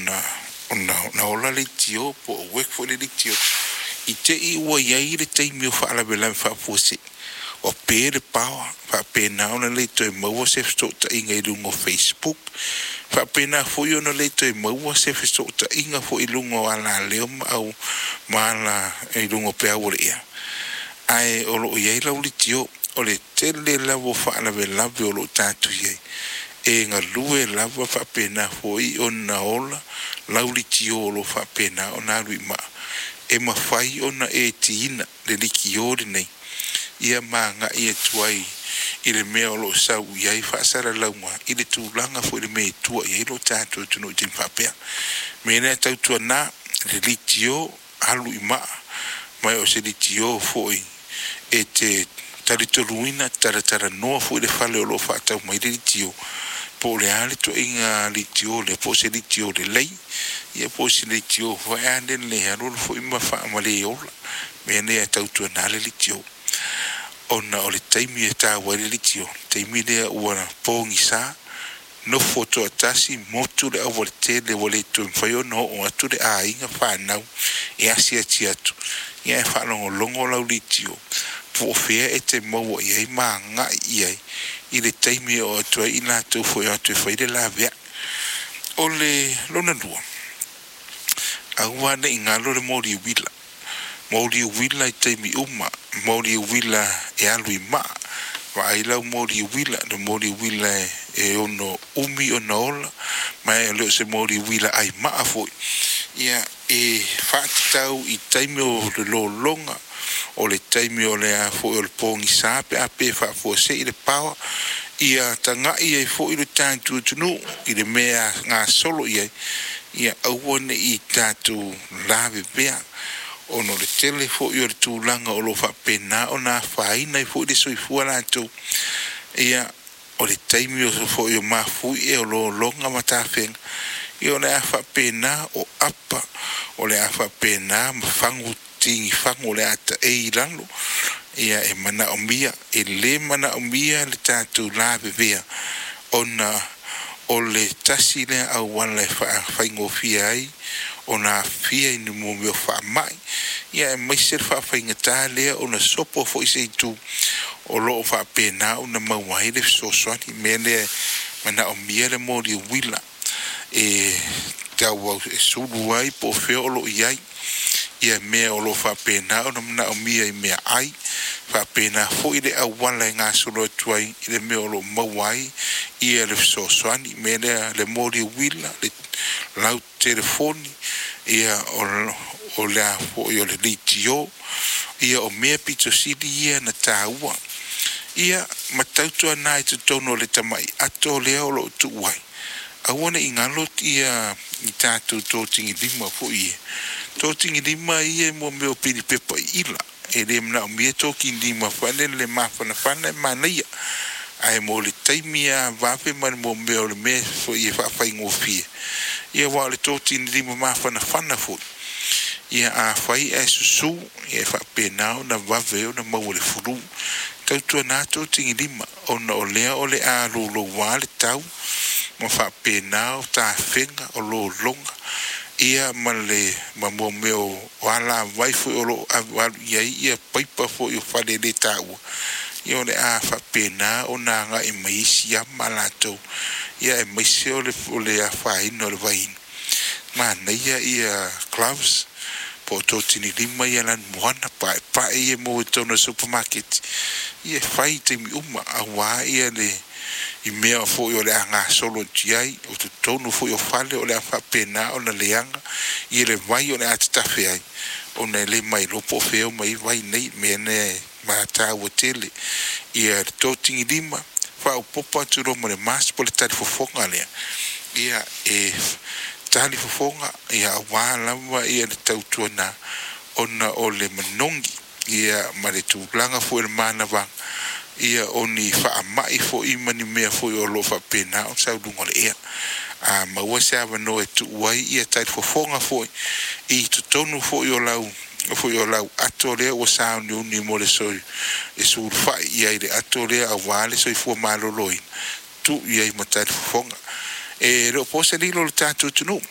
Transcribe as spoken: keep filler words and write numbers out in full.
ona ona ona ola leitio po o uek foi le leitio i te i ua i ai le taimi o faalavelave faafuasei o pe le power, faapena ona le toe maua se fesootaiga i luga o Facebook, faapena foi ona le toe maua se fesootaiga foi i luga o alaleo ma au ma ala i luga o peau o le ea. Ae o loo i ai lau litio o le tele lava o faalavelave o loo tatou i ai e galue lava, faapena foi ona ola lau litio o lo faapena ona alu i maa e mafai ona e tiina le litio lenei ia ma agai atu ai i le mea o loo sau i ai faasalalauga i le tulaga foi le mea e tua i ai lo tatou atunuu i taimi faapea. Me lea tautuana le litio alu i maa ma o se litio foi e te talitonuina talatalanoa foi le fale o loo faatau mai le litio po o le a le toaiga litio le po o se litio lelei ia po o se litio foi a le alualu foi ma faamale ola. Mea lea tautuana le litio ona o le taimi e taua ai le litio taimi lea ua pogisa nofo toatasi motu le aualatele ua le toe mafai ona oo atu le aiga fanau e asiasi atu ia e faalogologo lau litio po o fea e te maua i ai ma agai i ai i le taimi e oo atu ai i latou foi o atu e fai le laveai. O le lona lua, aua ne i galo le moli uila, moli uila i taimi uma, moli uila e alu i maa, vaai lau moli uila, le moli uila e, e ono umi ona ola, ma e le o se moli uila ai maa foi. Ia e faatatau i taimi o le lologa, o le taimi o le a foi o le pogisa pe a pe faafuasei le power, ia tagai ai foi le tatou atunuu i le mea gasolo i ai, ia aua ne i tatou lavevea ona o le tele foi o le tulaga o lo o faapena ona afaina ai foi le soifua latou. Ia o le taimi o foi o mafuie o lologa ma tafega, ia o le a faapena o apa, o le a faapena ma fagu tigi fagu o le a taei i lalo. Ia e manaomia, e lē manaomia le tatou lavevea ona o le tasi lea auala e faafaigofie ai ona afia i ni mea o faamai, ia aemaise le faafaigata lea ona sopo foi se itu o loo faapena ona maua ai le fesoasoani. Mea lea manaomia le moli uila e tauau e sulu ai po o fea o loo i ai ia mea o lo o faapena ona manaomia i mea ai faapena foi le auala e gasolo atu ai i le mea o lo o maua ai ia le fesoasoani. Mea lea le moli uila le lau telefoni ia o o le a foi o le litio ia o mea pito sili ia na taua ia ma tautuana i totonu o le tamai ato lea o loo tuu ai. Aua ne i galo ia i tatou totigilima foi ia. Totigilima ia mo mea o pilipepa i ila. E le manaomia totigilima faale le mafanafana e manaia. Ae mo le taimi a vave ma le mo mea o le mea foi e faafaigofie. Ia aua o le totigilima mafanafana foi. Ia afai ae susu, ia e faapena ona vave ona maua le fulu. Tautuana totigilima ona o lea o le a louloua le tau ma faapena o tafega o lologa ia ma le ma mo mea o alavai foi o loo alualu i ai ia paipa foi o fale le taua. Ia o le a faapena ona agai mai isi ama latou ia aemaise o le o le afaina o le vainu. Manaia ia gloves po o totinilima ia lanumoana paepae ia maua i totonu o le supermarket. Ia e fai i taimi uma auā ia le i mea foi o le a gasolo atu i ai o totonu foi o fale o le a faapena ona leaga ia le vai o le a tatafe ai ona e le mailoa po o fea o mai vai nei. Mea lea e mataua tele ia le totigilima faaopoopo atu loa ma le mask po o le talifofoga lea ia e talifofoga ia auā lava ia le tautuana ona o le manogi ia ma le tulaga foi o le manavaga ia o ni faamai foi ma ni mea foi o loo faapena ona sau luga o le ea. A maua se avanoa e tuu ai ia talifofoga foi i totonu foi o lau foi o lau ato lea ua sauniuni mo le soi e sulufai i ai le ato lea auā le soifua maloloina, tuu i ai ma talifofoga. E le o po se lilo o le tatou atunuu.